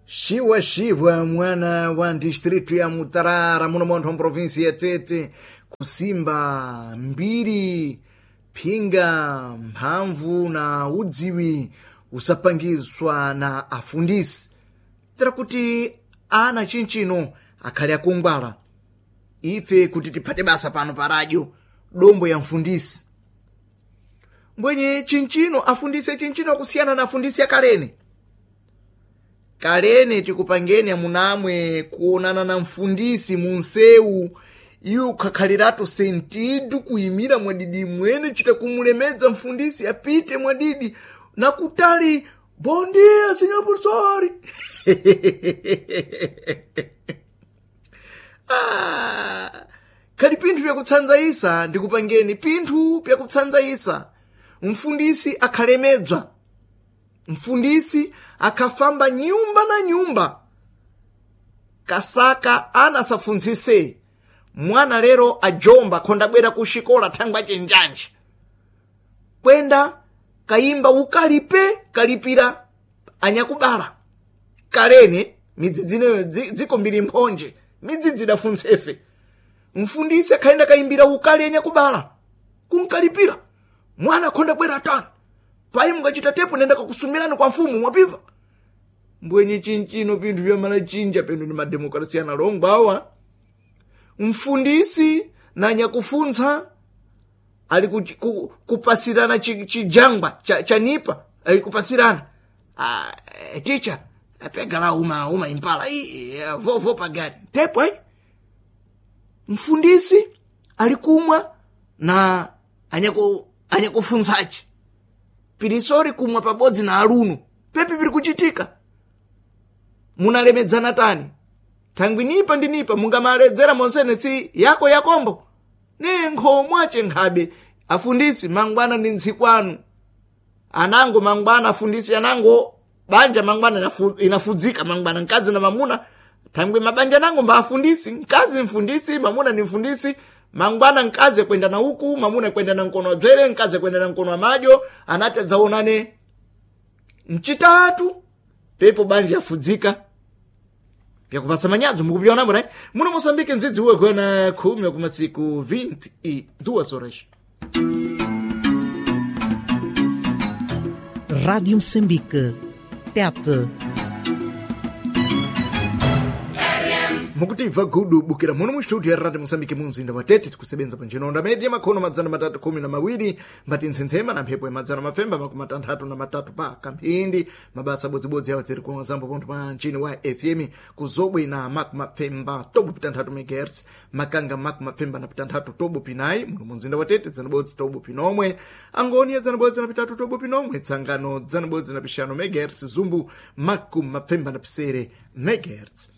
Shiwa shivwa mwana wa distritu ya Mutarara muno montho mprovinsi ya Tete kusimba mbiri phinga mphamvu na udziwi usapangizwa na afundisi tera kuti ana chinchino akhale akungwala ife kuti tiphate basa pano pa radio dombo ya mfundisi mbwenye chinchino afundise chinchino akusiyana na afundisi akalene kalene tikupangeni amunamwe kuonana na mfundisi munsewu iwe ukhakhaliratu sentidu kuyimira mwadidi mwene chita kumulemedza mfundisi apite mwadidi nakutali bom dia senhor professor. Ah, khali pinthu pyakutsanzayisa ndikupangeni pinthu pyakutsanzayisa mfundisi akhalemedzwa mfundisi akhafamba nyumba na nyumba kasaka ana asafunzise mwana lero ajomba khondabwera ku xikola thangwa chenjanje kwenda kayimba ukalipe kalipira anyakubala kalene midzidzi ineyo dziko mbiri mphonje midzidzi idafuntsefe mfundisi akhayenda kayimbira ukali anyakubala kunkalipira mwana akhonda bwera tani payi mungachita tepo nenda kakusumirani kwa mfumu mwapiva mbwenye chinchino pinthu vyamalachinja penu ni mademokrasi analongwa awa mfundisi na nyakufuntsa ali kupasirana chijangwa cha nipa ali kupasirana. Ah, ticha pega la uma impala vovo pagari tepo mfundisi alikumwa na anyakufuntsaci pirisori kumwa pabodzi na alunu pepi piri kuchitika munalemedzana tani thangwi nipa ndi nipa mungamaledzera monsene si yako yakombo ne nkhomwace nkhabe afundisi mangwana ndi ntsikwanu anango mangwana afundisi anango banja mangwana inafudzika mangwana mkazi na mamuna thangwi mabanja nango mba afundisi mkazi mfundisi mamuna ni mfundisi mangwana mkazi kwenda na uku mamuna kwenda na mkono wa dzwere mkazi kwenda na mkono wa madyo anati adzaonane mchitatu pepo banja yafudzika pyakupatsa manyadzo mukupyona mbona muno Moçambique ndzidzi uwe kwena khumi kumasiku 22 horas. Rádio Moçambique, TET. Mukutibva gudu bukira muno mu studio ya Radio Moçambique mu mzinda wa Tete tikusebenza panjinonda media makhono 312 mbati ntsensema na mphepo ya 563 pa kamphindi mabasa bodzibodzi awo dziri kuno zambo pontho pa mchini wa FM kuzobwe na makumapfemba tobo pitantatu megahertz makanga makumapfemba na pitantatu tobo pinayi muno mu mzinda wa Tete dzanabodzi tobo pinomwe angoni ya dzanabodzi na pitatu tobo pinomwe tsangano dzanabodzi na pixanu megahertz zumbu makumapfemba na pisere megahertz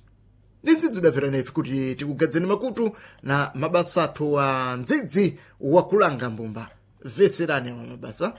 ndi ndzidzi udabvera nefe kuti tikugadzeni makutu na mabasa athu a ndzidzi wakulanga mbumba veserani awa mabasa.